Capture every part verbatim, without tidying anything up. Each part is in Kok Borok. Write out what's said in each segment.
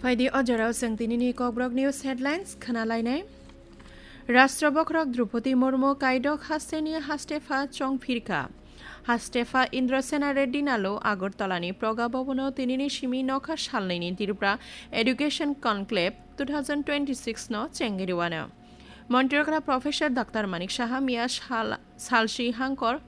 Phaidi o jorao chwng tinini Kokborok News Headlines khna lainai. Rashtra Bokhorok Droupadi Murmu kaidok hasteni hastepha chong phirkha. Hastepha Indrasena Reddy Nalu Agartala ni Proga Bhavan o tinini simi nokha salnwi ni Tripura Education Conclave two thousand twenty-six no chengiriwano. Montrokra Professor Doctor Manik Saha miya sal, salsi hangkor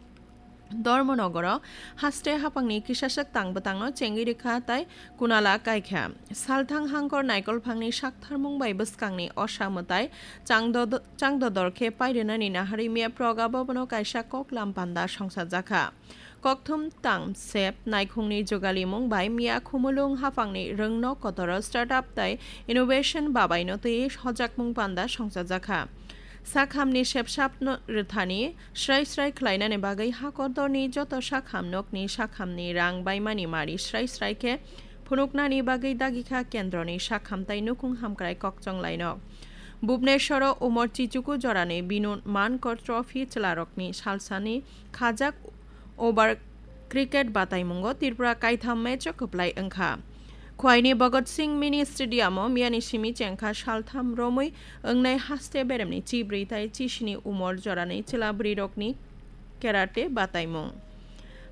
Dharmanagar o haste hapangni kisaswk tang bwtangno chengwi rwkha tai kunala kaikha. Salthang hangkor naikol phangni saktharmung bai bwskangni osa mwtai changdo-, changdodor khe pairwnani naharwi miya Proga Bhavan o kaisa koklam panda songsajakha. Kokthum tang sep naikhungni jugalimung bai miya Khumulwng hapangni rwngnok kotoro startup tai innovation babaino twi hojakmung panda songsajakha. Sakhamni sepsapno rwthani srai srai khlainani bagwi hakordorni joto sakham nokni sakhamni rang baimani mari srai srai khe phunuknani bagwi dagikha kendroni sakham tai nukhung hamkrai kokchong lainok. Bhubaneswaro umor chichuku jorani Binu Mankar Trophy chwlarokni salsani khajak over cricket bataimungo Tripura kaitham match o kwplai wngkha. Khwaini Bhagat Singh Mini Stadium o miyani simi chengkha saltham romwi wngnai haste beremni chibrwi tai chisini umor jorani chwla bwrwirokni karate bataimung.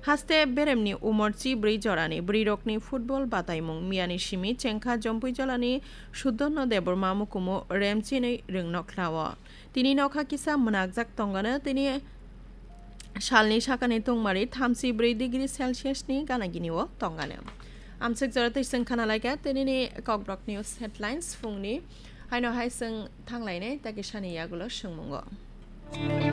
Haste beremni umor chibrwi jorani bwrwirokni football bataimung miyani simi chengkha Jompuijolani Sudhanno Debbarma mukumu remchinwi rwngnok khlao. Tini nokha kisa mwnakjak tongano, tini salni sakani tungmari thamsi bwrwi degree Celsius ni gana gini o tongano. Amswk jora twi chwng khana laikha tinini Kokborok News Headlines phungni. Haino hai chwng thanglainai takisani yagulo swngmungo.